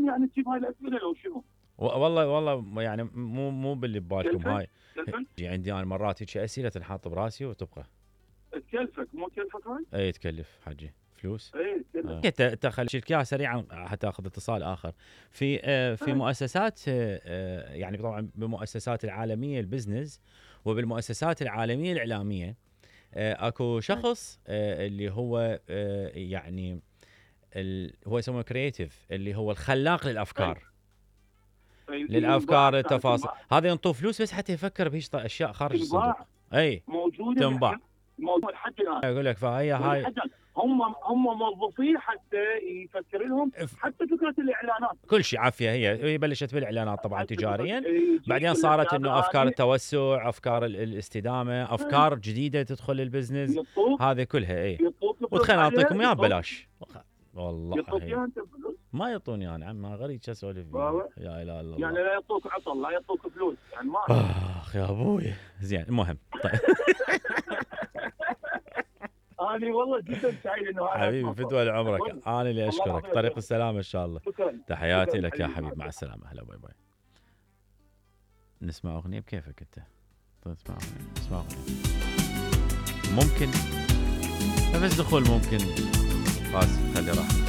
لازم يعني تجيب هاي الاسئله لو شنو؟ والله يعني مو باللي ببالكم هاي. عندي انا مرات هيك اسئله تنحط براسي وتبقى تكلفك مو تكلفك هاي؟ اي تكلف حجي فلوس. اي تكلف. انت خلي اياها سريعا حتى اخذ اتصال اخر. في مؤسسات يعني طبعا بالمؤسسات العالميه البزنس وبالمؤسسات العالميه الاعلاميه اكو شخص اللي هو يعني هو يسمونه كرييتيف، اللي هو الخلاق للافكار. للافكار التفاصيل هذا ينطوه فلوس بس حتى يفكر بهيك اشياء خارج الصندوق. اي موجوده تنباع. موجود حتى الان. اقول لك فهي هاي هم موظفين حتى يفكر لهم حتى فكره الاعلانات كل شيء عافيه. هي بلشت بالاعلانات طبعا تجاريا، بعدين صارت انه افكار التوسع، افكار الاستدامه، افكار جديده تدخل البزنس هذه كلها. اي وتخيل اعطيكم اياها ببلاش والله. ما يعطوني انا عم غريب شو اسولف فيه. يا اله الا الله. يعني لا يعطوك عطل، لا يعطوك فلوس يعني ما اخ يا ابوي. زين المهم طيب. أنا والله جدا سعيد إنه حبيبي فدوى لعمرك. أنا اللي أشكرك. طريق السلامة إن شاء الله. تحياتي لك يا حبيبي. مع السلامة. هلا باي باي. نسمع أغنية بكيفك أنت. نسمع أغنية ممكن نفس دخول ممكن. خلاص خلي راحة.